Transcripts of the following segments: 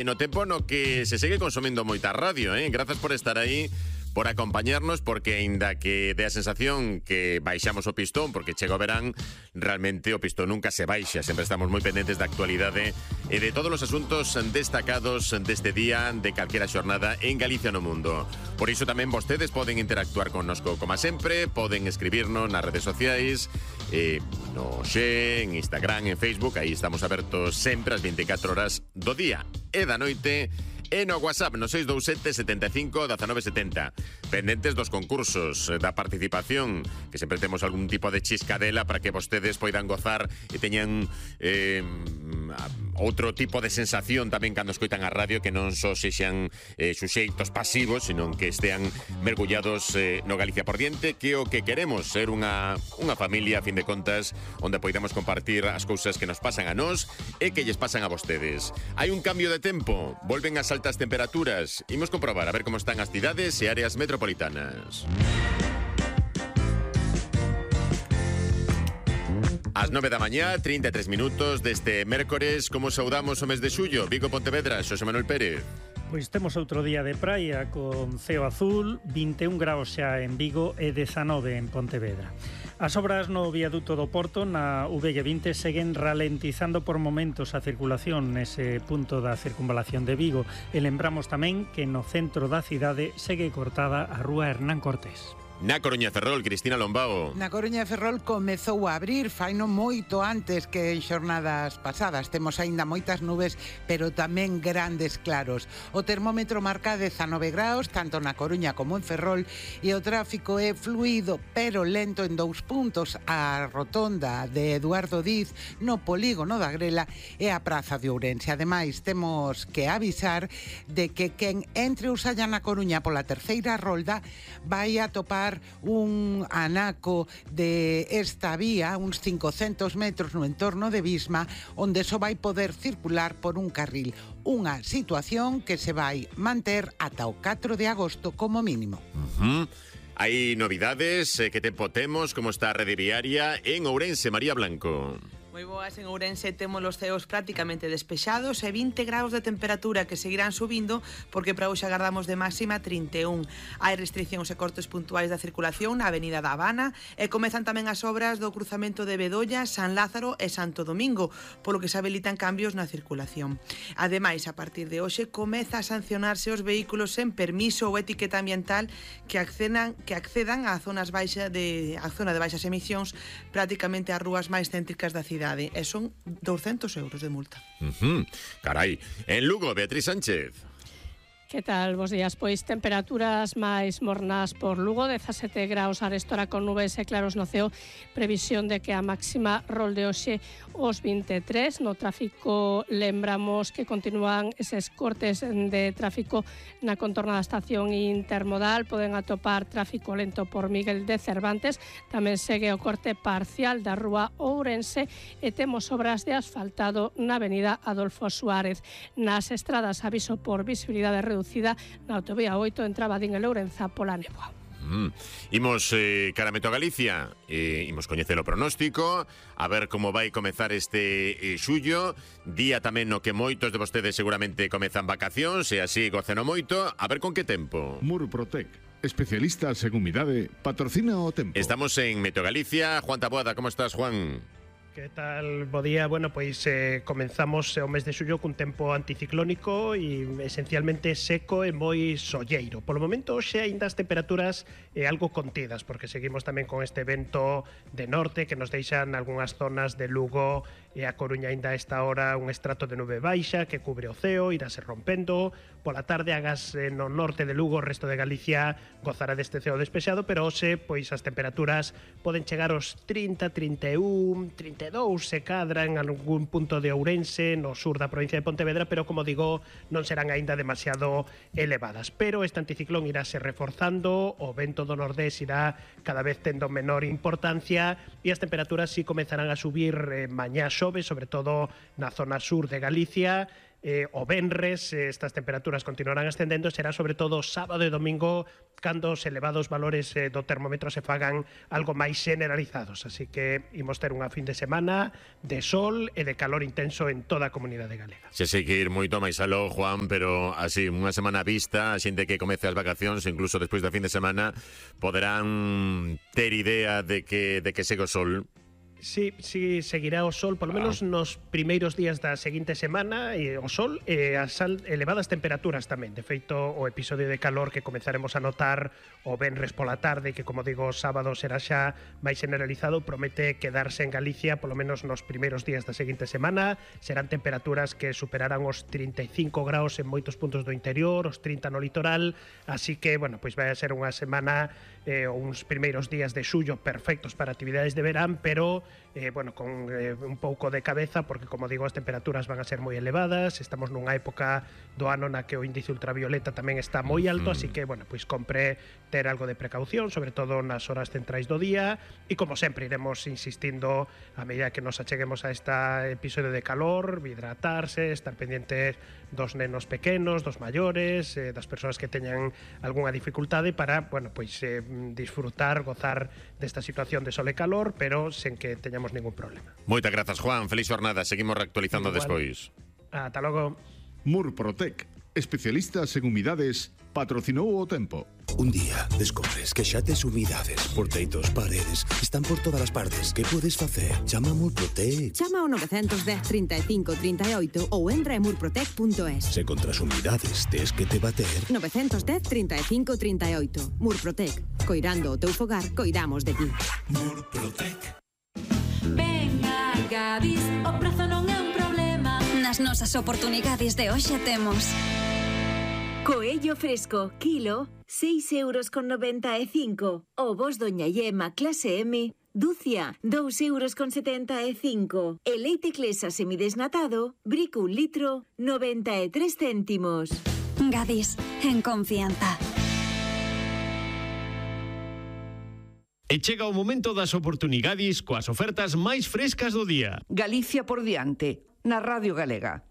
No tempo no que se segue consumindo moita radio, Grazas por estar aí, por acompañarnos, porque aínda que dé a sensación que baixamos o pistón porque chega o verán, realmente o pistón nunca se baixa. Sempre estamos moi pendentes da actualidade e de todos os asuntos destacados deste día, de calquera xornada en Galicia no mundo. Por iso tamén vostedes poden interactuar connosco como sempre, poden escribirnos nas redes sociais, no Xe, en Instagram, en Facebook. Aí estamos abertos sempre as 24 horas do día e da noite, e no WhatsApp no 627 75 1970. Pendentes dos concursos, da participación, que sempre temos algún tipo de chiscadela para que vostedes poidan gozar e teñan outro tipo de sensación tamén cando escoitan a radio, que non só sexan suxeitos pasivos, sino que estean mergullados no Galicia por diante, que o que queremos ser unha familia, a fin de contas, onde poidamos compartir as cousas que nos pasan a nós e que lles pasan a vostedes. Hai un cambio de tempo, volven as altas temperaturas. Imos comprobar a ver como están as cidades e áreas metropolitanas. As 9 da mañá, 33 minutos deste mércores. Como saudamos o mes de xullo? Vigo, Pontevedra, Xosé Manuel Pérez. Pois temos outro día de praia con ceo azul, 21 graus xa en Vigo e 19 en Pontevedra. As obras no viaduto do Porto na VG20 seguen ralentizando por momentos a circulación nese punto da circunvalación de Vigo e lembramos tamén que no centro da cidade segue cortada a rúa Hernán Cortés. Na Coruña de Ferrol, Cristina Lombao. Na Coruña de Ferrol comezou a abrir, faino moito antes que en xornadas pasadas. Temos aínda moitas nubes, pero tamén grandes claros. O termómetro marca 19 graus, tanto na Coruña como en Ferrol, e o tráfico é fluido, pero lento en 2 puntos. A rotonda de Eduardo Diz, no polígono da Grela, e a praza de Ourense. Ademais, temos que avisar de que quen entre Usalla na Coruña pola terceira rolda vai a topar un anaco de esta vía, uns 500 metros no entorno de Visma, onde só vai poder circular por un carril. Unha situación que se vai manter ata o 4 de agosto como mínimo. Hai novidades, que tempo temos, como está a rede viaria en Ourense, María Blanco. Moi boas, en Ourense temos os ceos prácticamente despexados e 20 graus de temperatura que seguirán subindo porque para hoxe agardamos de máxima 31. Hai restriccións e cortes puntuais da circulación na Avenida da Habana e comezan tamén as obras do cruzamento de Bedolla, San Lázaro e Santo Domingo, polo que se habilitan cambios na circulación. Ademais, a partir de hoxe comeza a sancionarse os vehículos sen permiso ou etiqueta ambiental que accedan á zona de baixas emisións, prácticamente ás rúas máis céntricas da cidade. E son 200 euros de multa. Carai. En Lugo, Beatriz Sánchez. Que tal? Bos días. Pois temperaturas máis mornas por Lugo, 17 graus arestora con nubes e claros no ceo, previsión de que a máxima rolde hoxe os 23. No tráfico lembramos que continúan eses cortes de tráfico na contorna da estación intermodal, poden atopar tráfico lento por Miguel de Cervantes, tamén segue o corte parcial da rúa Ourense e temos obras de asfaltado na avenida Adolfo Suárez. Nas estradas aviso por visibilidade reducida na autovía 8 en Trabadín e Lourenza pola néboa. Imos caramento a Galicia, imos coñecer o pronóstico, a ver como vai comezar este xullo, día tamén no que moitos de vostedes seguramente comezan vacacións e así goceno moito, a ver con que tempo. Murprotec, especialistas en humidade, patrocina o tempo. Estamos en Meteo Galicia. Juan Taboada, como estás, Juan? Que tal? Bo día. Bueno, pois comenzamos o mes de xullo cun tempo anticiclónico e esencialmente seco e moi solleiro. Polo momento, hoxe aínda as temperaturas algo contidas, porque seguimos tamén con este vento de norte que nos deixan algunhas zonas de Lugo e a Coruña aínda a esta hora un estrato de nube baixa que cubre o ceo, irase rompendo. Pola tarde, agas no norte de Lugo, o resto de Galicia gozará deste ceo despexado, pero hoxe, pois as temperaturas poden chegar aos 30, 31, 32 se cadra en algún punto de Ourense, no sur da provincia de Pontevedra, pero como digo, non serán aínda demasiado elevadas. Pero este anticiclón irase reforzando, o vento do nordés irá cada vez tendo menor importancia e as temperaturas si comezarán a subir mañá xove, sobre todo na zona sur de Galicia, o venres estas temperaturas continuarán ascendendo, será sobre todo sábado e domingo cando os elevados valores do termómetro se fagan algo máis generalizados. Así que imos ter unha fin de semana de sol e de calor intenso en toda a comunidade galega. Se sei que ir moito máis aló, Juan, pero así, unha semana vista, a xente que comece as vacacións, incluso despois da fin de semana, poderán ter idea de que segue o sol. Sí, seguirá o sol, polo menos nos primeiros días da seguinte semana, o sol e as elevadas temperaturas tamén. De feito, o episodio de calor que comezaremos a notar o venres pola tarde, que, como digo, o sábado será xa máis generalizado, promete quedarse en Galicia, polo menos nos primeiros días da seguinte semana. Serán temperaturas que superarán os 35 graus en moitos puntos do interior, os 30 no litoral, así que, bueno, pois vai a ser unha semana uns primeiros días de xullo perfectos para actividades de verán, pero bueno, con un pouco de cabeza, porque, como digo, as temperaturas van a ser moi elevadas, estamos nunha época do ano na que o índice ultravioleta tamén está moi alto, así que, bueno, pois compre ter algo de precaución, sobre todo nas horas centrais do día, e como sempre iremos insistindo a medida que nos acheguemos a este episodio de calor, hidratarse, estar pendientes dos nenos pequenos, dos maiores, das persoas que teñan algunha dificultade para, bueno, pois disfrutar, gozar desta situación de sol e calor, pero sen que teñamos ningún problema. Moitas grazas, Juan. Feliz jornada. Seguimos reactualizando despois. Ata logo. Murprotec, especialistas en humidades, patrocinou o tempo. Un día descobres que xa tes humidades por teitos, paredes, están por todas as partes. Que podes facer? Chama a Murprotec. Chama ao 910 35 38 ou entra en murprotec.es. Se contra as humidades tes que te bater. 910 35 38. Murprotec. Coirando o teu fogar, coidamos de ti. Murprotec. Venga, Gadis, o prazo non é un problema. Nas nosas oportunidades de hoxe temos coello fresco, kilo, 6,95 €. Ovos Doña Yema clase M, dúcia, 2,75 €. E leite Clesa semidesnatado, brico 1 litro, 93 céntimos. Gadis, en confianza. E chega o momento das oportunidades coas ofertas máis frescas do día. Galicia por diante, na Radio Galega.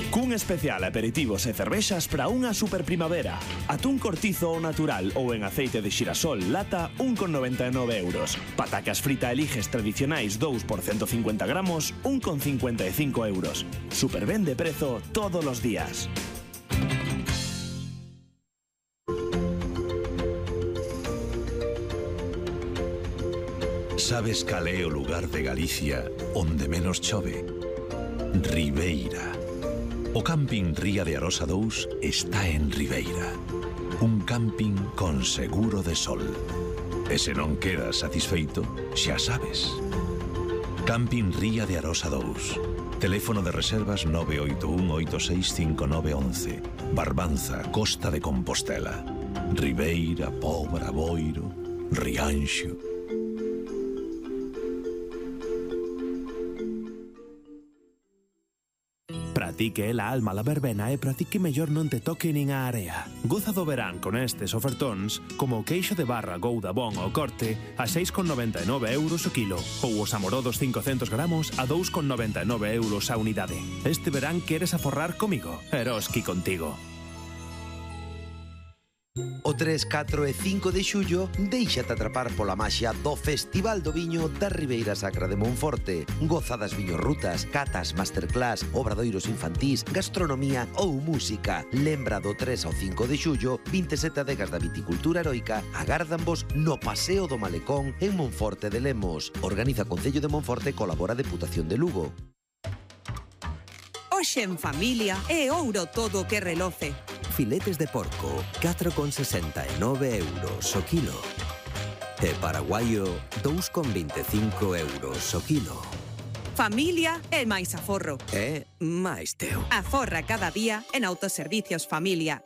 Cun especial aperitivos e cervexas para unha super primavera. Atún cortizo ou natural ou en aceite de xirasol lata 1,99 €. Patacas frita eliges tradicionais 2 por 150 gramos 1,55 €. Super ben de prezo todos os días. Sabes cal é o lugar de Galicia onde menos chove? Ribeira. O camping Ría de Arosa 2 está en Ribeira. Un camping con seguro de sol. E se non quedas satisfeito, xa sabes. Camping Ría de Arosa 2. Teléfono de reservas 981 865911. Barbanza, Costa de Compostela. Ribeira, Pobra, Boiro, Rianxo. Pratique la alma la verbena e pratique mellor non te toque nin a area. Goza do verán con estes ofertóns como o queixo de barra Gouda Bon ao corte a 6,99 € o kilo ou os amorodos 500 gramos a 2,99 € a unidade. Este verán queres aforrar comigo? Eroski contigo. O 3, 4 e 5 de xullo déixate atrapar pola maxia do Festival do Viño da Ribeira Sacra de Monforte. Gozadas viñorrutas, catas, masterclass, obradoiros infantís, gastronomía ou música. Lembra do 3 ao 5 de xullo, 27 adegas da viticultura heroica agárdanvos no Paseo do Malecón en Monforte de Lemos. Organiza Concello de Monforte e colabora Deputación de Lugo. Hoxe en familia é ouro todo o que reloce. Filetes de porco, 4,69 € o kilo. E paraguaio, 2,25 € o kilo. Familia é máis aforro. É máis teu. Aforra cada día en Autoservicios Familia.